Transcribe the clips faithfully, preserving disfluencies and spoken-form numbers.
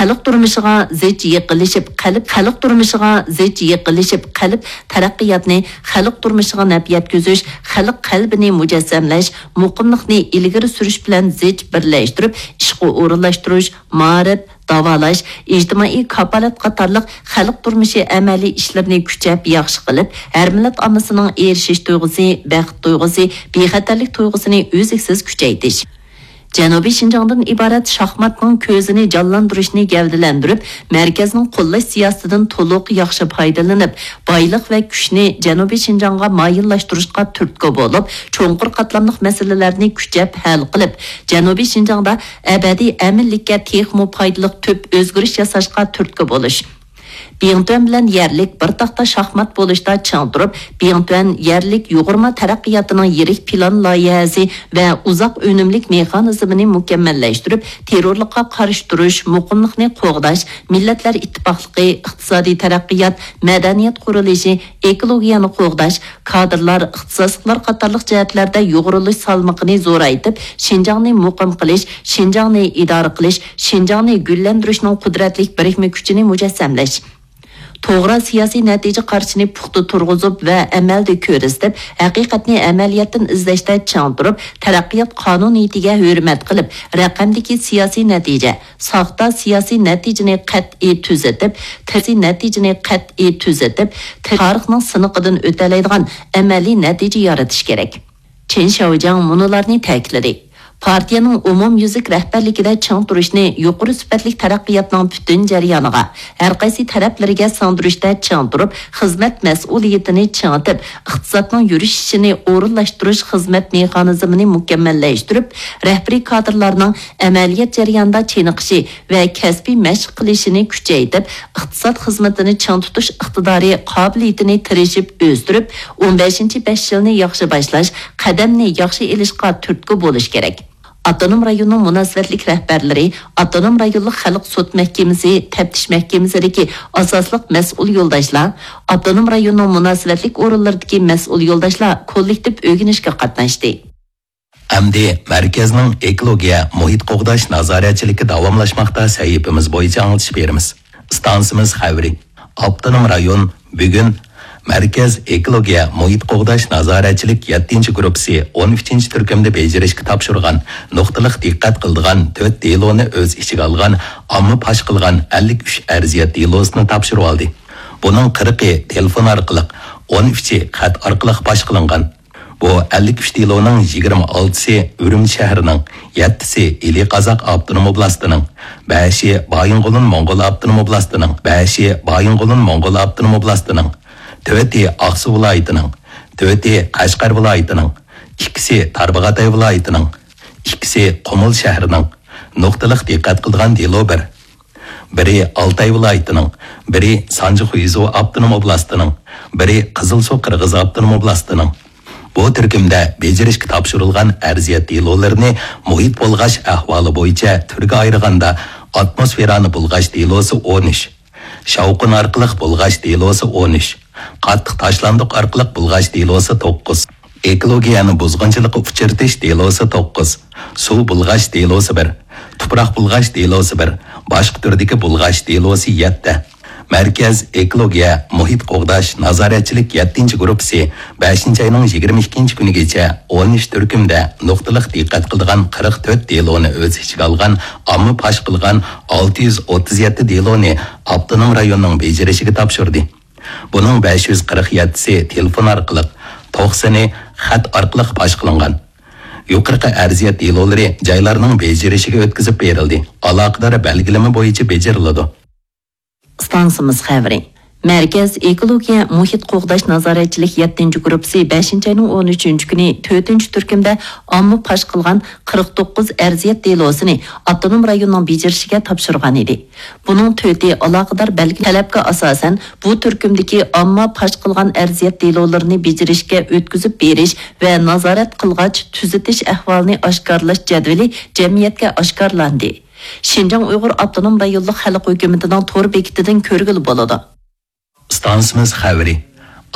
خەلق تۇرمۇشىغا زىچ يېقىنلىشىپ قەلب، خەلق تۇرمۇشىغا زىچ يېقىنلىشىپ قەلب تەرەققىياتنى خەلق تۇرمۇشىغا نەپ يەتكۈزۈش، خەلق قەلبىنى مۇجەسسەملەش، مۇقىملىقنى ئىلگىرى سۈرۈش بىلەن زىچ بىرلەشتۈرۈپ ئىشقا ئورۇنلاشتۇرۇش، مائارىپ، داۋالاش، ئىجتىمائىي كاپالەت قاتارلىق خەلق تۇرمۇشى ئەمەلىي ئىشلىرىنى كۈچەپ ياخشى قىلىپ، ھەر مىللەت ئاممىسىنىڭ ئېرىشىش تۇيغۇسى، بەخت تۇيغۇسى، بىخەتەرلىك تۇيغۇسىنى ئۈزلۈكسىز كۈچەيتىش. جەنۇبىي شىنجاڭدىن ئىبارەت شاھماتنىڭ كۆزىنى جانلاندۇرۇشنى گەۋدىلەندۈرۈپ، مەركەزنىڭ قوللاش سىياسىتىدىن تولۇق ياخشى پايدىلىنىپ، بايلىق ۋە كۈچنى جەنۇبىي شىنجاڭغا مايىللاشتۇرۇشقا تۈرتكە بولۇپ، چوڭقۇر قاتلاملىق مەسىلىلەرنى كۈچەپ ھەل قىلىپ، جەنۇبىي شىنجاڭدا ئەبەدىي ئەمىنلىككە تېخىمۇ پايدىلىق تۈپ ئۆزگىرىش ياساشقا تۈرتكە بولۇش. بىڭتۈەن بىلەن يەرلىك بىر تاختا شاھمات بولۇشتا چىڭ تۇرۇپ، بىڭتۈەن يەرلىك يۇغۇرما تەرەققىياتىنىڭ يىرىك پىلان لايىھەسى ۋە ئۇزاق ئۈنۈملۈك مېخانىزمىنى مۇكەممەللەشتۈرۈپ، تېررورلۇققا قارشى تۇرۇش، مۇقىملىقنى قوغداش، مىللەتلەر ئىتتىپاقلىقى، ئىقتىسادىي تەرەققىيات، مەدەنىيەت قۇرۇلۇشى، ئېكولوگىيەنى قوغداش، كادىرلار، ئىختىساسلىقلار قاتارلىق جەھەتلەردە يۇغۇرۇلۇش سالمىقىنى زورايتىپ، شىنجاڭنى مۇقىم قىلىش، شىنجاڭنى ئىدارە قىلىش، شىنجاڭنى گۈللەندۈرۈشنىڭ قۇدرەتلىك بىرىكمە كۈچىنى مۇجەسسەملەش. توغرا سىياسىي نەتىجە قارىشىنى پۇختا تۇرغۇزۇپ ۋە ئەمەلدە كۆرسىتىپ، ھەقىقەتنى ئەمەلىيەتتىن ئىزدەشتە چىڭ تۇرۇپ، تەرەققىيات قانۇنىيىتىگە ھۆرمەت قىلىپ، رەقەمدىكى سىياسىي نەتىجە، ساختا سىياسىي نەتىجىنى قەتئىي تۈزىتىپ، سىياسىي نەتىجىنى قەتئىي تۈزىتىپ، تارىخنىڭ سىنىقىدىن ئۆتەلەيدىغان ئەمەلىي نەتىجە يارىتىش كېرەك. چېن شياۋجياڭ مۇنۇلارنى تەكىتلىدى: پارتىيەنىڭ ئومۇميۈزلۈك رەھبەرلىكىدە چىڭ تۇرۇشنى يۇقىرى سۈپەتلىك تەرەققىياتنىڭ پۈتۈن جەريانىغا، ھەر قايسى تەرەپلىرىگە سىڭدۈرۈشتە چىڭ تۇرۇپ، خىزمەت مەسئۇلىيىتىنى چىڭىتىپ، ئىقتىسادنىڭ يۈرۈشۈشىنى ئورۇنلاشتۇرۇش خىزمەت مېخانىزمىنى مۇكەممەللەشتۈرۈپ، رەھبىرىي كادىرلارنىڭ ئەمەلىيەت جەريانىدا چېنىقىشى ۋە كەسپىي مەشىق قىلىشىنى كۈچەيتىپ، ئىقتىساد خىزمىتىنى چىڭ تۇتۇش ئىقتىدارى، قابىلىيىتىنى تىرىشىپ ئۆستۈرۈپ، ئون بەشىنچى بەش يىلنى ياخشى باشلاش، قەدەمنى ياخشى ئېلىشقا تۈرتكە بولۇش كېرەك. ئاپتونوم رايوننىڭ مۇناسىۋەتلىك رەھبەرلىرى، ئاپتونوم رايونلۇق خەلق سوت مەھكىمىسى، تەپتىش مەھكىمىسىدىكى ئاساسلىق مەسئۇل يولداشلار، ئاپتونوم رايوننىڭ مۇناسىۋەتلىك ئورۇنلىرىدىكى مەسئۇل يولداشلار كوللېكتىپ ئۆگىنىشكە قاتناشتى. ئەمدى مەركەزنىڭ ئېكولوگىيە، مۇھىت قوغداش نازارەتچىلىكى داۋاملاشماقتا سەھىپىمىز بويىچە ئاڭلىتىش بېرىمىز. ئىستانسىمىز خەۋىرى. ئاپتونوم رايون بۈگۈن مەركەز ئېكولوگىيە، مۇھىت قوغداش نازارەتچىلىك يەتتىنچى گۇرۇپپىسى ئون ئۈچىنچى تۈركۈمدە بېجىرىشكە تاپشۇرغان، نۇقتىلىق دىققەت قىلىدىغان تۆت دېلونى ئۆز ئىچىگە ئالغان ئامما پاش قىلغان ئەللىك ئۈچ ئەرزىيەت دېلوسىنى تاپشۇرۇۋالدى. بۇنىڭ قىرىقى تېلېفون ئارقىلىق، ئون ئۈچى خەت ئارقىلىق پاش قىلىنغان. بۇ ئەللىك ئۈچ دېلونىڭ يىگىرمە ئالتىسى ئۈرۈمچى شەھىرىنىڭ، يەتتىسى ئىلى قازاق ئاپتونوم ئوبلاستىنىڭ، بەشى بايىنغولىن موڭغۇل ئاپتونوم ئوبلاستىنىڭ، بەشى بايىنغولىن موڭغۇل ئاپتونوم ئوبلاستىنىڭ، تۆتى ئاقسۇ ۋىلايىتىنىڭ، تۆتى قەشقەر ۋىلايىتىنىڭ، ئىككىسى تارباغاتاي ۋىلايىتىنىڭ، ئىككىسى قۇمۇل شەھىرىنىڭ. نۇقتىلىق دىققەت قىلىدىغان دېلو بىر. بىرى ئالتاي ۋىلايىتىنىڭ، بىرى سانجى خۇيزۇ ئاپتونوم ئوبلاستىنىڭ، بىرى قىزىلسۇ قىرغىز ئاپتونوم ئوبلاستىنىڭ. بۇ تۈركۈمدە بېجىرىشكە تاپشۇرۇلغان ئەرزىيەت دېلولىرىنى مۇھىت بۇلغاش ئەھۋالى بويىچە تۈرگە ئايرىغاندا، ئاتموسفېرانى بۇلغاش دېلوسى ئون ئۈچ، شاۋقۇن ئارقىلىق بۇلغاش دېلوسى ئون ئۈچ، قاتتىق تاشلاندۇق ئارقىلىق بۇلغاش دېلوسى توققۇز، ئېكولوگىيەنى بۇزغۇنچىلىققا ئۇچرىتىش دېلوسى توققۇز، سۇ بۇلغاش دېلوسى بىر، تۇپراق بۇلغاش دېلوسى بىر، باشقا تۈردىكى بۇلغاش دېلوسى يەتتە. مەركەز ئېكولوگىيە، مۇھىت قوغداش نازارەتچىلىك يەتتىنچى گۇرۇپپىسى بەشىنچى ئاينىڭ يىگىرمە ئىككىنچى كۈنىگىچە ئون ئۈچ تۈركۈمدە نۇقتىلىق دىققەت قىلىدىغان قىرىق تۆت دېلونى ئۆز ئىچىگە ئالغان ئامما پاش قىلغان ئالتە يۈز ئوتتۇز يەتتە دېلونى ئاپتونوم رايوننىڭ بېجىرىشىگە تاپشۇردى. بۇنىڭ بەش يۈز قىرىق يەتتىسى تېلېفون ئارقىلىق، توقسىنى خەت ئارقىلىق پاش قىلىنغان. يۇقىرىقى ئەرزىيەت دېلولىرى جايلارنىڭ بېجىرىشىگە ئۆتكۈزۈپ بېرىلدى، ئالاقىدار بەلگىلىمە بويىچە بېجىرىلىدۇ. ئىستانسىمىز خەۋىرى. مەركەز ئېكولوگىيە، مۇھىت قوغداش نازارەتچىلىك يەتتىنچى گۇرۇپپىسى بەشىنچى ئاينىڭ ئون ئۈچىنچى كۈنى تۆتىنچى تۈركۈمدە ئامما پاش قىلغان قىرىق توققۇز ئەرزىيەت دېلوسىنى ئاپتونوم رايوننىڭ بېجىرىشىگە تاپشۇرغان ئىدى. بۇنىڭ تۆتى ئالاقىدار بەلگە تەلەپكە ئاساسەن، بۇ تۈركۈمدىكى ئامما پاش قىلغان ئەرزىيەت دېلولىرىنى بېجىرىشكە ئۆتكۈزۈپ بېرىش ۋە نازارەت قىلغاچ تۈزىتىش ئەھۋالىنى ئاشكارىلاش جەدۋىلى جەمئىيەتكە ئاشكارىلاندى. شىنجاڭ ئۇيغۇر ئاپتونوم رايونلۇق خەلق ھۆكۈمىتىنىڭ تور بېكىتىدىن كۆرگىلى بولىدۇ. ئىستانسىمىز خەۋىرى.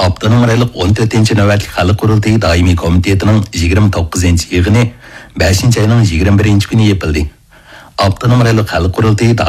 ئاپتونوم رايونلۇق ئون تۆتىنچى نۆۋەتلىك خەلق قۇرۇلتىيى دائىمىي كومىتېتىنىڭ يىگىرمە توققۇزىنچى يىغىنى بەشىنچى ئاينىڭ يىگىرمە بىرىنچى كۈنى يېپىلدى. ئاپتونوم رايونلۇق خەلق قۇرۇلتىيى